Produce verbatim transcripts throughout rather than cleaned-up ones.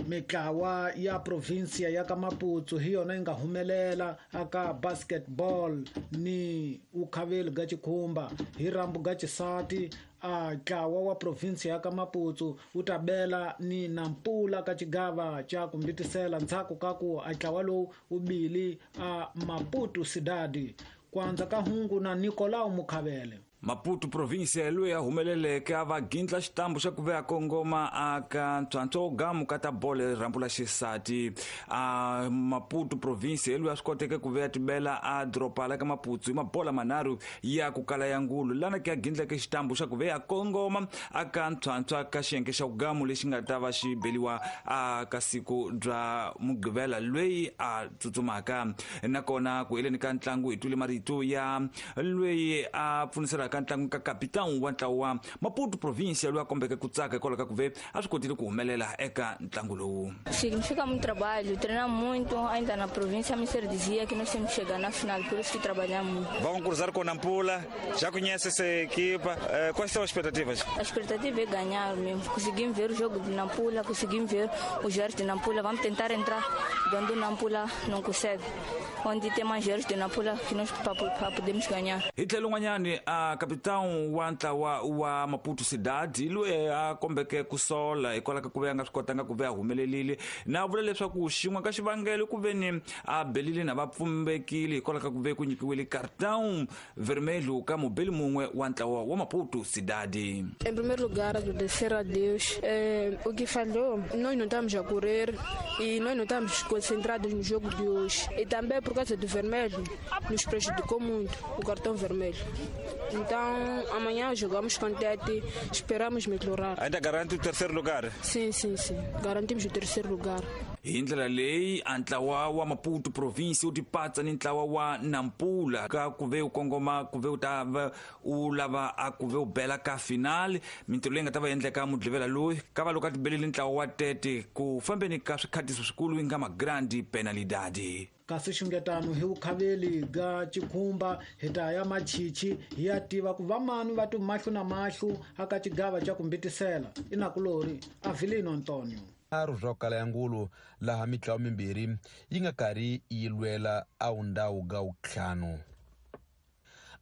Mitlawa ya provinsia ya ka Maputo hi yona yi nga humelela aka basketball ni ukhaveli ga Chikhumba. Hi rambu ga xisati a ntlawa wa provinsia ya ka Maputo wu ta bela ni Nampula ka xigava xa ku mbitisela ndzhaku ka ku a ntlawa lowu wu bili a Maputo Cidade. Kwanza ka hungu na Nicolau Mukhavele. Maputo provinsia loyi a humeleleke a va gindla xitambu xa ku veya kongoma aka ntswantswa wo gamu ka ta bolo rhambu la xisati. A Maputo provinsia loyi a swi koteke ku veya tibela a doroba la ka Maputo hi mabola manharhu ya ku kala ya ngulu lana ke a gindleke xitambu xa ku veya kongoma aka ntswantswa ka xiyenge xa gamu lexi nga ta va xi beliwa a ka siku bya Mugqivela loyi a tsutsumaka. Nakona ku heleni ka ntlangu hi twile marito ya loyi a pfuniselaka ka ntlangu ka kapitão wa ntlawa wa Maputo provinsia loyi a kombeke ku tsaka hikwalaho ka ku ve a swi kotile ku humelela eka ntlangu lowu. Significa muito trabalho, treinar muito, ainda na província me dizia que nós temos que chegar na final, por isso que trabalhamos muito. Vão cruzar com Nampula, já conhece essa equipa, quais são as expectativas? A expectativa é ganhar mesmo, conseguimos ver o jogo de Nampula, conseguimos ver os jogos de Nampula, vamos tentar entrar onde o Nampula não consegue, onde tem mais jogos de Nampula que nós podemos ganhar. Hi tlhelo n'wanyani a kapitão wa ntlawa wa Maputo Cidade loyi a kombeke ku sola hikwalaho ka ku ve a nga swi kotanga ku ve a humelerile na vula leswaku xin'we ka xivangelo ku ve ni a belile na va pfumbekile hikwalaho ka ku ve ku nyikiwile cartão vermelho ka mubeli mun'we wa ntlawa wa Maputo Cidade. Em primeiro lugar, agradecer a Deus. Eh, o que falhou, nós não estamos a correr e nós não estamos concentrados no jogo de hoje. E também por causa do vermelho, nos prejudicou muito o cartão vermelho. Então, amanhã jogamos com Tete, esperamos melhorar. Ainda garante o terceiro lugar? Sim, sim, sim. Garantimos o terceiro lugar. Hi ndlela leyi a ntlawa wa Maputo province wu tipatsa ni ntlawa wa Nampula ka ku ve u kongoma ku ve u ta va u lava a ku ve u bela ka final. Mintirho leyi nga ta va endleka Mugqivela loyi ka va loko a tibelile ntlawa wa Tete ku fambeni ka swikhatiso swikulu yi nga magrandi penalidade. Kasi xungetano hi vukhaveli ga Chikhumba hi ta ya Machichi hi ya tiva ku vamani va ti mahlo na mahlo aka xigava xa ku mbitisela. Inakulori Avelino Antonio. Nharhu swa ku kala ya ngulu laha mitlawa mimbirhi yi nga karhi yi lwela a wundhawu ga wuntlhanu.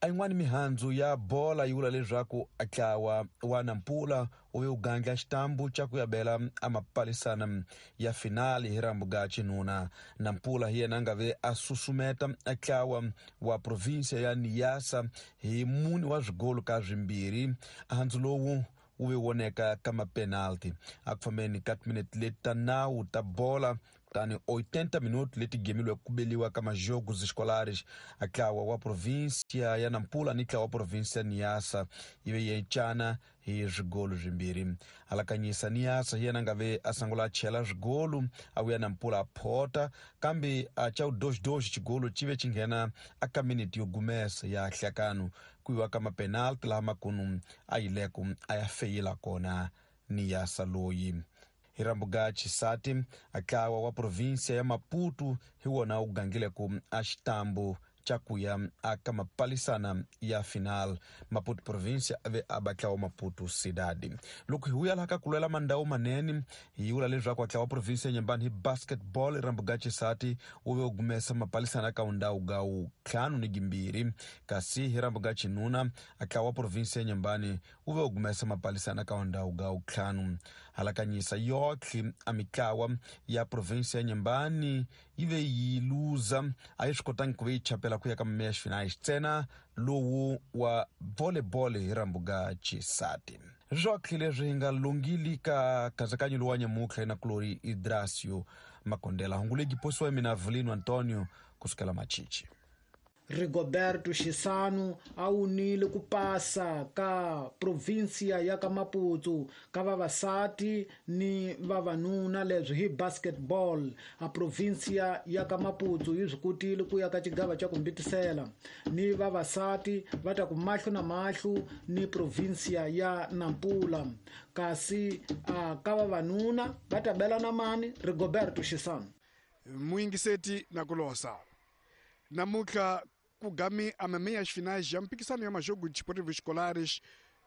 A yin'wani mihandzu ya bola yi vula leswaku ntlawa wa Nampula wu ve wu gandla xitambu xa ku ya bela a mapalisana ya finali hi rambu ga xinuna. Nampula hi yena a nga ve a susumeta ntlawa wa provinsia ya Niassa hi mune wa swigolo ka swimbirhi. Handzu lowu wu ve voneka ka mapenalti a ku fambeni ka timinete leti ta nawu ta bola kutani oitenta minutos leti gemiliwe ku beliwa ka majogos escolares. A ntlawa wa província ya Nampula ni ntlawa wa província ya Niassa yi ve yi encana hi swigolo swimbirhi. Alakanyisa Niassa hi yena a nga ve a sungula a chela swigolo a vuya Nampula a phota kambe a xa doxdoxi xigolo xi ve xi nghena a ka minete yo gumesa ya hlakano ku yiwa ka mapenalti laha makunu a yileko a ya feyila kona Niassa loyi. Hi rambu ga xisati a ntlawa wa província ya Maputo hi wona wu gangileko a xitambu xa ku ya aka mapalisana ya final. Maputo província a ve a ba ntlawa Maputo Cidade. Loko hi vuya laha ka ku lwela mandhawu manene hi vula leswaku ntlawa wa província ya Nyembani hi basketball rambu ga xisati wu ve wu gumesa mapalisana ka wundhawu ga wuntlhanu ni gimbirhi, kasi hi rambu ga xinuna ntlawa wa província ya Nyembani wu ve wu gumesa mapalisana ka wundhawu ga wuntlhanu. Halakanyisa yotlhe a mitlawa ya província ya Nyembani yi ve yi luza a yi swi kotangi ku ve yi chapela ku ya ka meias finais ntsena lowu wa volleyball hi rambu ga xisati. Swotlhe leswi hi nga longili ka nkatsakanyo lowu wa nyamutlha inakulori Idrasio Makondela. Hungu legi posiwa hi mina Avelino Antonio kusukela Machichi. Rigoberto Xisanu a wunile ku pasa ka provinsia ya ka Maputo ka vavasati ni vavanuna leswi hi basketball. A provinsia ya ka Maputo yi swi kotile ku ya ka xigava xa ku mbitisela ni vavasati va ta ku mahlo na mahlo ni provinsia ya Nampula, kasi a ka vavanuna va ta bela na mani Rigoberto Xisanu. Muyingiseti na kulosa namuntlha ku gami a meias finais ya mpikisano ya majogo desportivos escolares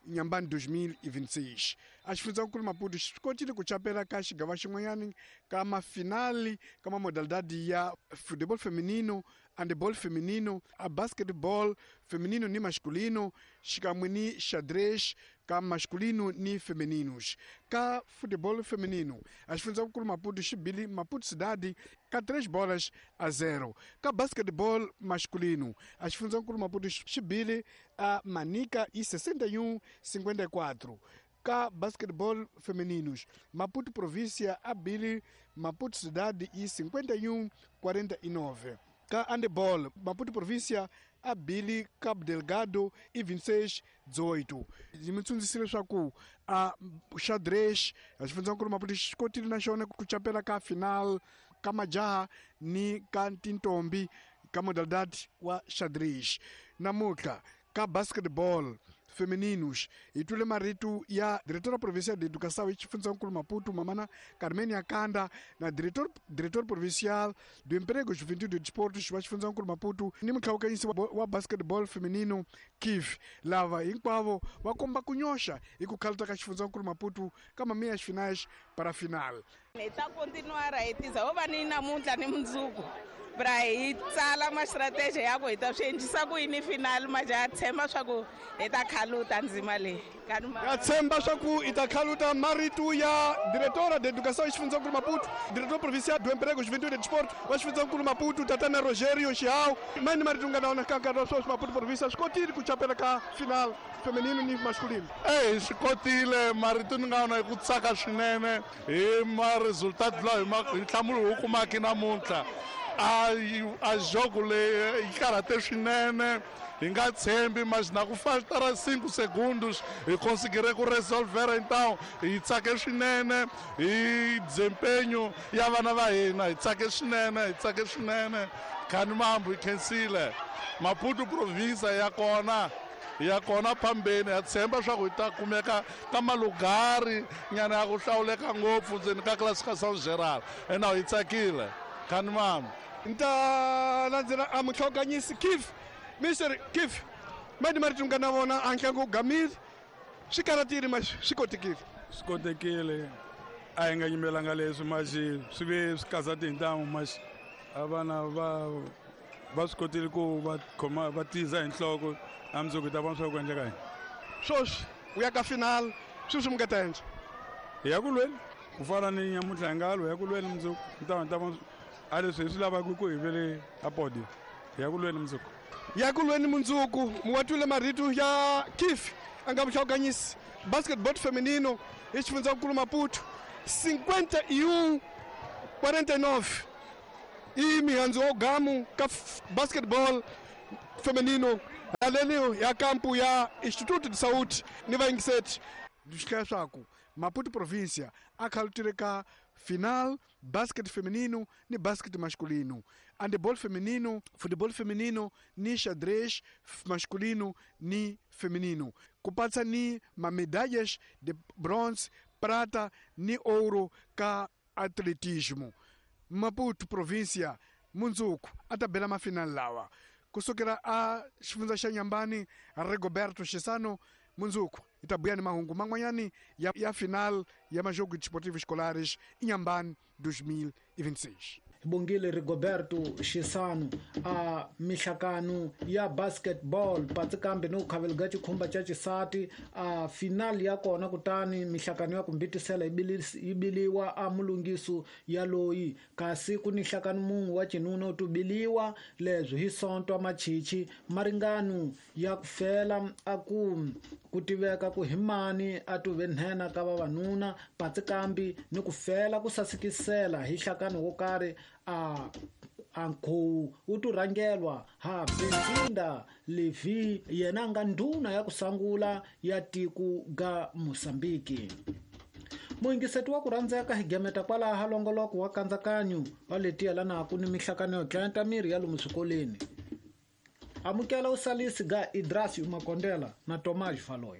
Inhambane dois mil e vinte e seis. A xifundzankulu Maputo xi kotile ku chapela ka xigava xin'wanyani ka mafinali ka modalidade ya futebol feminino, handebol feminino, a basketball feminino ni masculino, xikan'we ni xadrez ka masculino ni femininos. Ka futebol feminino, a xifundzankulu Maputo xi bile Maputo cidade ka três bolas a zero. Ka basketball masculino, a xifundzankulu Maputo xi bile a Manica e sessenta e um cinquenta e quatro. Ka basketball femininos, Maputo província a bile Maputo cidade e cinquenta e um quarenta e nove. Ka handebol, Maputo província a bile Cabo Delgado e vinte e seis dezoito. E me tsundzisile leswaku a xadrez a xifundzankulu Maputo xi kotile na xona ku chapela ka final ka majaha ni ka tintombi ka modalidade wa xadrez. Namuntlha ka basketball femininos, hi twile marito ya diretora provincial de educação e xifundzankulu Maputo, Mamana Carmen Akanda, na diretor diretor provincial do emprego, juventude e desportos wa xifundzankulu Maputo, ni mutlhawukanyisi wa basketball feminino Kif lava hinkwavo va komba ku nyoxa hi ku khaluta ka xifundzankulu Maputo ka meias finais para final. Hi ta continuar hi tiza ho va ni namuntlha ni mundzuku pra hi tsala ma strategy ya ku hi ta swi endlisa ku yini final majaha tshemba swa ku hi ta khaluta ndzima leyi. Ya tshemba swa ku hi ta khaluta. Marito ya diretora de educação xifundzankulu Maputo, diretor provincial do emprego, juventude e desporto wa xifundzankulu Maputo, Tatana Rogério Chiao. Mani marito nga na wona ka nkarhi wa sweswi Maputo província swi kotile ku chapela ka final feminino ni masculino. Eyi swi kotile marito ni nga wona hi ku tsaka swinene hi ma resultado lawa hi ma hi nhlamulo wu kumaka namuntlha. A a jogo leyi yi karhate swinene, hi nga tshembi mas na ku faltara cinco segundos hi conseguire ku resolver. Então hi tsake swinene hi desempenho ya vana va hina, hi tsake swinene, hi tsake swinene. Khani mambu hi khensile Maputo província ya kona ya kona phambeni. Ya tshemba swa ku hi ta kumeka ka malugari nyana ya ku hlawuleka ngopfu ndzeni ka classificação geral. Ena hi tsakile khani mambu. Nta landzela a mutlhawukanyisi Kif, Mister Kif, mani marito nga na vona a ntlangu wu gamile, swi karhatile ma swi kotekile. Swi kotekile, a hi nga yimelanga leswi maxi swi ve swi kazate hi ntamu maxi a vana va va swi kotile ku va khoma va tiza hi nhloko. A mundzuku hi ta vona swa ku endleka yini. Sweswi u ya ka final, sweswi mi nga ta endla hi ya ku lweni ku fana ni nyamuntlha hi nga lwa ya ku lweni mundzuku ni ta ta vona a leswi hi swi lavaka ku hi vele a podio. Hi ya ku lweni mundzuku. Ya ku lweni mundzuku. Muwatwile marito ya Kif a nga muhlawukanyisi basketball feminino hi xifundzankulu Maputo, cinquenta e um quarenta e nove i mihandzu wo gamu ka basketball feminino haleni ya kampu ya Instituto de Saúde ni vayingiseti. Swi hlaya swaku Maputo província a khalutile ka final basket feminino ni basket masculino, handebol feminino, futebol feminino ni xadrez masculino ni feminino, ku patsa ni mamedalhas de bronze, prata ni ouro ka atletismo. Maputo província mundzuku a ta bela mafinal lawa. Kusukela a xifundza xa Inhambane, Rigoberto Chissano. Mundzuku hi ta buya ni mahungu man'wanyani ya, ya final ya majogo desportivos escolares Inhambane dois mil e vinte e seis. Bongile Rigoberto Chissano a mihlakano ya basketball patsi kambe no khavelga xikhumba xa xisati a final ya kona kutani mihlakano ya ku mbitisela yi biliwa a mulungiso ya loyi kasi ku ni nhlakano mun'we wa xinuna u tubiliwa leswi hi sonto a machichi maringano ya ku fela a ku ku tiveka ku hi mani a tuve nhenha ka vavanuna patsi kambi ni ku fela ku sasekisela hi nhlakano wo karhi a ankhowu wu tu rhangelwa ha Benzinda Levi yena nga ndhuna ya ku sangula ya tiko ga Mozambique. Muyingiseti wa ku rhandzeka hi gemeta kwalaha longoloko wa kandzakanyo wa leti yelanaka ni mihlakano yo dlaya miri ya lomu swikolweni. Amukela usalisi ga Idrasi Makondela na Tomás Valoy.